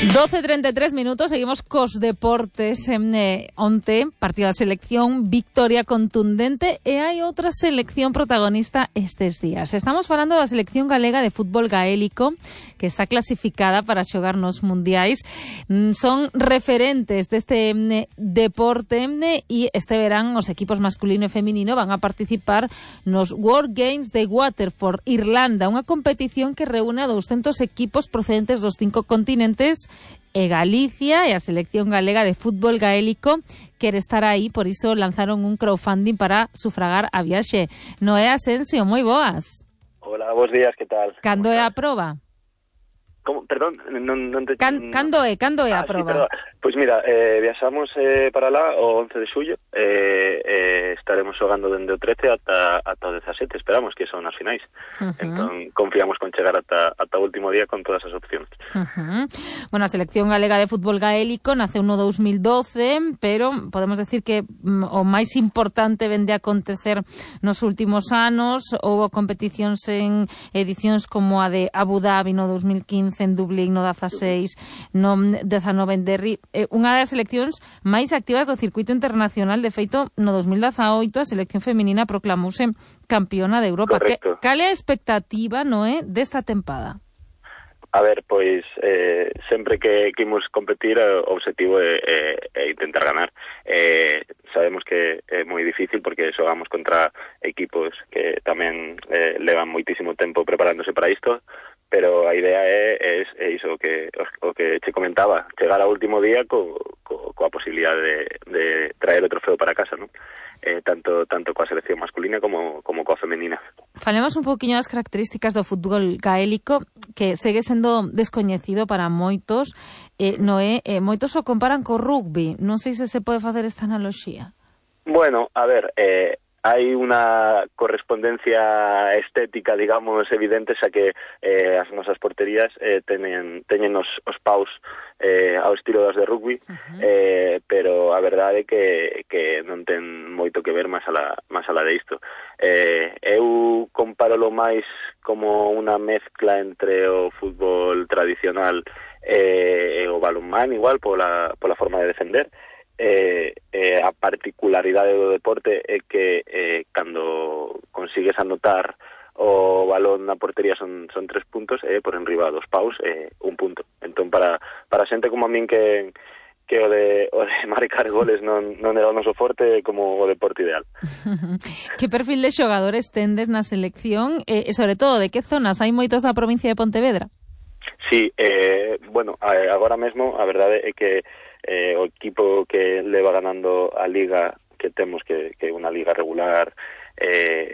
12:33, seguimos cos deportes. Onte, partido da selección, victoria contundente, e hai outra selección protagonista estes días. Estamos falando da selección galega de fútbol gaélico, que está clasificada para xogar nos mundiais. Son referentes deste deporte e este verán os equipos masculino e feminino van a participar nos World Games de Waterford, Irlanda, unha competición que reúne a 200 equipos procedentes dos 5 continentes, e Galicia e a selección galega de fútbol gaélico quere estar aí, por iso lanzaron un crowdfunding para sufragar a viaxe. Noé Asensio, moi boas. Hola, bons días, que tal? Cando é a proba? Como? Perdón, non te... Cando é a proba? Sí, pois mira, viaxamos para lá o 11 de xullo, estaremos xogando dende o 13 ata o 17, esperamos que son as finais. Entón, confiamos con chegar ata o último día con todas as opcións. Bueno, a selección galega de fútbol gaélico naceu no 2012, pero podemos decir que o máis importante vende a acontecer nos últimos anos. Houve competicións en edicións como a de Abu Dhabi no 2015, en Dublín no 16, no 19 en Derry, unha das seleccións máis activas do circuito internacional. De feito, no 2018 a selección feminina proclamouse campeona de Europa. Cal é a expectativa, Noé, desta tempada? A ver, pois sempre que imos competir, o objetivo é intentar ganar. Sabemos que é moi difícil porque xogamos contra equipos que tamén levan moitísimo tempo preparándose para isto, pero a idea é iso o que che comentaba, chegar ao último día coa posibilidade de traer o trofeo para casa, non? Tanto coa selección masculina como coa femenina. Falemos un poquinho das características do fútbol gaélico, que segue sendo descoñecido para moitos. Noé, moitos o comparan co rugby. Non sei se pode facer esta analoxía. Bueno, a ver, hai unha correspondencia estética, digamos, evidente, xa que as nosas porterías teñen os paus ao estilo das de rugby, pero a verdade é que non ten moito que ver máis alá de isto. Eu compárolo máis como unha mezcla entre o fútbol tradicional e o balonmán, igual, pola forma de defender. A particularidade do deporte é que cando consigues anotar o balón na portería son 3 puntos, e por enriba dos paus 1 punto. Entón, para xente como a min que o de marcar goles non era o noso forte, como o deporte ideal. Que perfil de xogadores tendes na selección, e sobre todo de que zonas? Hai moitos da provincia de Pontevedra? Sí, bueno, agora mesmo a verdade é que o equipo que leva ganando a liga que temos, que é unha liga regular,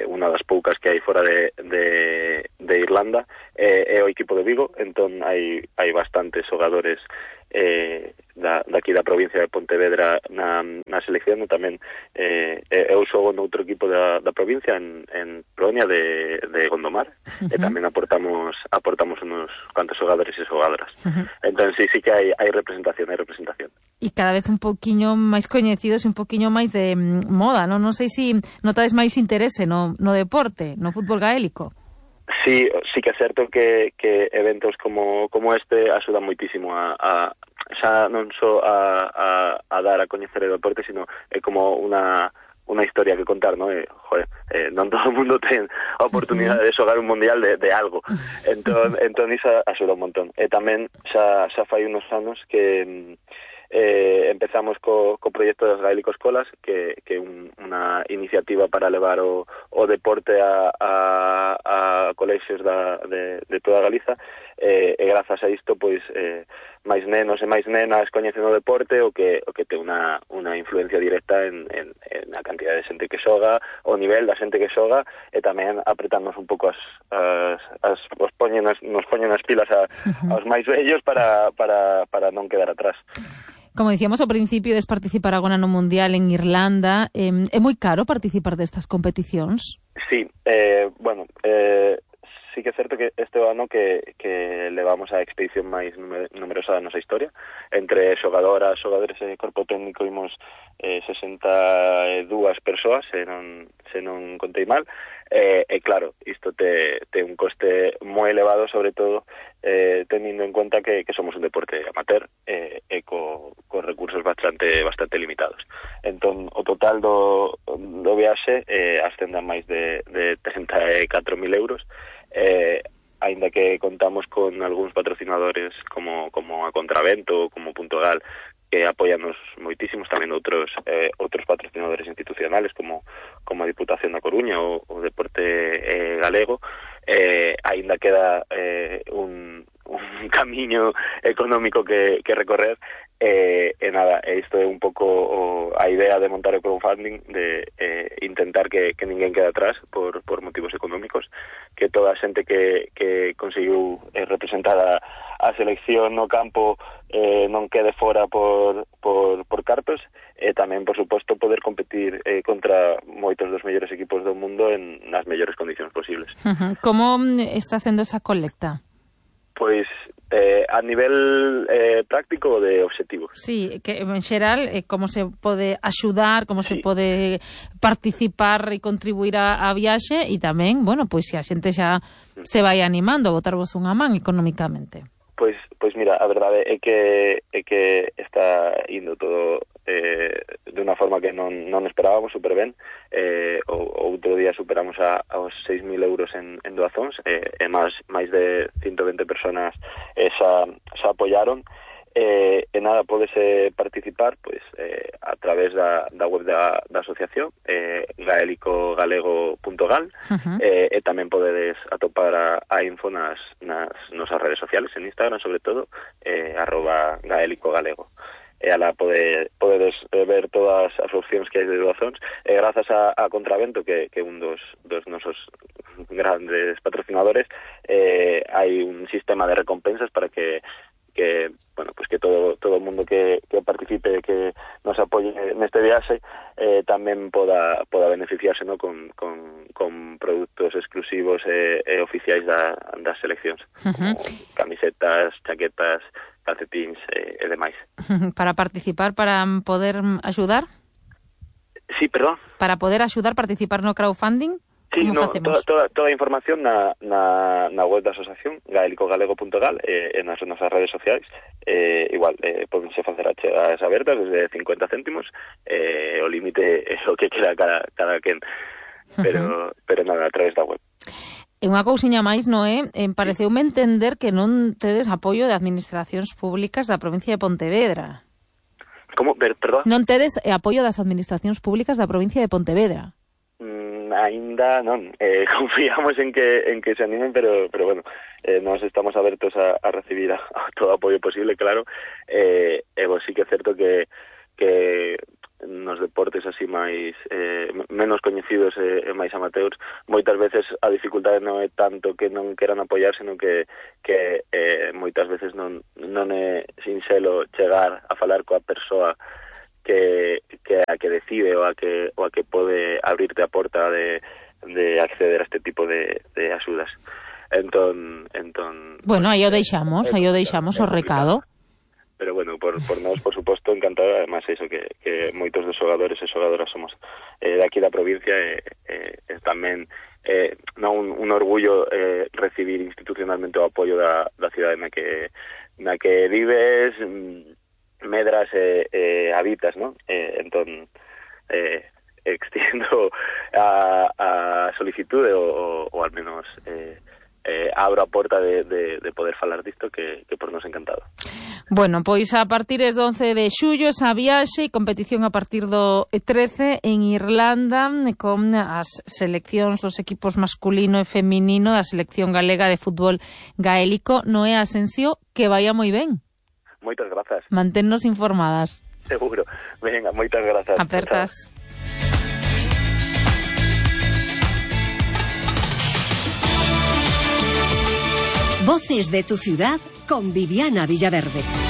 unha das poucas que hai fora de Irlanda, é o equipo de Vigo. Entón hai bastantes xogadores daqui da provincia de Pontevedra na selección. Tamén eu xogo noutro equipo da provincia, en Proña de Gondomar, e tamén aportamos uns cuantos xogadores e xogadoras. Entón sí que hai representación. E cada vez un poquinho máis coñecidos e un poquinho máis de moda, non? Non sei se notades máis interese no deporte, no fútbol gaélico. Sí que é certo que eventos como este axudan moitísimo a xa non só a dar a coñecer o deporte, sino é como unha historia que contar, non? Non todo o mundo ten a oportunidade de xogar un mundial de algo. Entón iso axuda un montón. E tamén xa fai unos anos que empezamos co proxecto das Gaélico Escolas, que é unha iniciativa para levar o deporte a colexios de toda Galiza, e grazas a isto, pois, máis nenos e máis nenas coñecen o deporte, o que ten unha influencia directa en a cantidad de xente que xoga, o nivel da xente que xoga, e tamén apretarnos un pouco nos poñen as pilas aos máis vellos para non quedar atrás. Como dicíamos ao principio, des participar agora no Mundial en Irlanda. É moi caro participar destas competicións? Sí, bueno, sí que é certo que este ano que levamos a expedición máis numerosa da nosa historia. Entre xogadores e corpo técnico imos 62 persoas, se non contei mal. Claro, isto te un coste moi elevado, sobre todo tenindo en conta que somos un deporte amateur e co recursos bastante limitados. Entón, o total do viaxe ascende a máis de 34.000 euros, aínda que contamos con algúns patrocinadores como a Contravento, como Punto Gal, que apoianos moitísimos, tamén outros patrocinadores institucionales como a Diputación da Coruña ou o Deporte Galego. Aínda queda un camiño económico que recorrer, nada, isto é un pouco a idea de montar o crowdfunding, de intentar que ninguén quede atrás por motivos económicos, que toda a xente que conseguiu representar a selección no campo non quede fora por cartos, e tamén, por suposto, poder competir contra moitos dos mellores equipos do mundo nas mellores condicións posibles. Como está sendo esa colecta? Pois a nivel práctico de obxectivos. Sí, que en xeral como se pode axudar, como se pode participar e contribuir a viaxe, e tamén, bueno, pois se a xente xa se vai animando a botarvos unha man económicamente. Pois mira, a verdade é que está indo todo de unha forma que non esperábamos super ben. O outro día superamos aos 6.000 euros en doazóns, e máis de 120 personas xa apoiaron. Nada, podese participar pois a través da web da asociación, gaelicogalego.gal, e tamén podedes atopar a info nas nosas redes sociales, en Instagram sobre todo, @gaelicogalego. Ala podedes ver todas as opcións que hai de doazóns, e grazas a Contravento, que é un dos nosos grandes patrocinadores, hai un sistema de recompensas para que bueno, pues que todo o mundo que participe, que nos apoye neste viaxe, tamén poda beneficiarse, ¿no? con produtos exclusivos e oficiais das seleccións, como camisetas, chaquetas, calcetíns e demais. Para participar, para poder axudar? Sí, perdón? Para poder axudar, participar no crowdfunding? Sí, no, toda a información na web da asociación, gaelicogalego.gal, e nas nosas redes sociais. Igual, podense facer achegas abertas desde 50 céntimos, o límite é o que queda cada quen, pero nada, a través da web. E unha cousiña máis, Noé, pareceume entender que non tedes apoio de administracións públicas da provincia de Pontevedra. Como? Perdón? Non tedes apoio das administracións públicas da provincia de Pontevedra. Ainda non, confiamos en que se animen, pero bueno, nos estamos abertos a recibir todo apoio posible, claro. Vos sí que é certo que nos deportes así máis menos coñecidos e máis amateurs, moitas veces a dificultade non é tanto que non queran apoiar, senón que moitas veces non é sinxelo chegar a falar coa persoa que a que decide ou a que pode abrirte a porta de acceder a este tipo de axudas. Entón bueno, aí o deixamos o recado. Pero bueno, por nós, por suposto, encantado. Además, iso que moitos dos xogadores e xogadoras somos de aquí da provincia, e tamén un orgullo recibir institucionalmente o apoio da cidade na que vives, medras e habitas, ¿no? Entón, extiendo a solicitude ou al menos abro a porta de poder falar disto, que por nos encantado. Bueno, pois a partir do 11 de xullo esa viaxe e competición a partir do 13 en Irlanda, con as seleccións dos equipos masculino e feminino da selección galega de fútbol gaélico. Noé Asensio, que vaya moi ben. Moitas grazas. Manténnos informadas. Seguro. Venga, moitas grazas. Apertas. Voces de tu ciudad con Viviana Villaverde.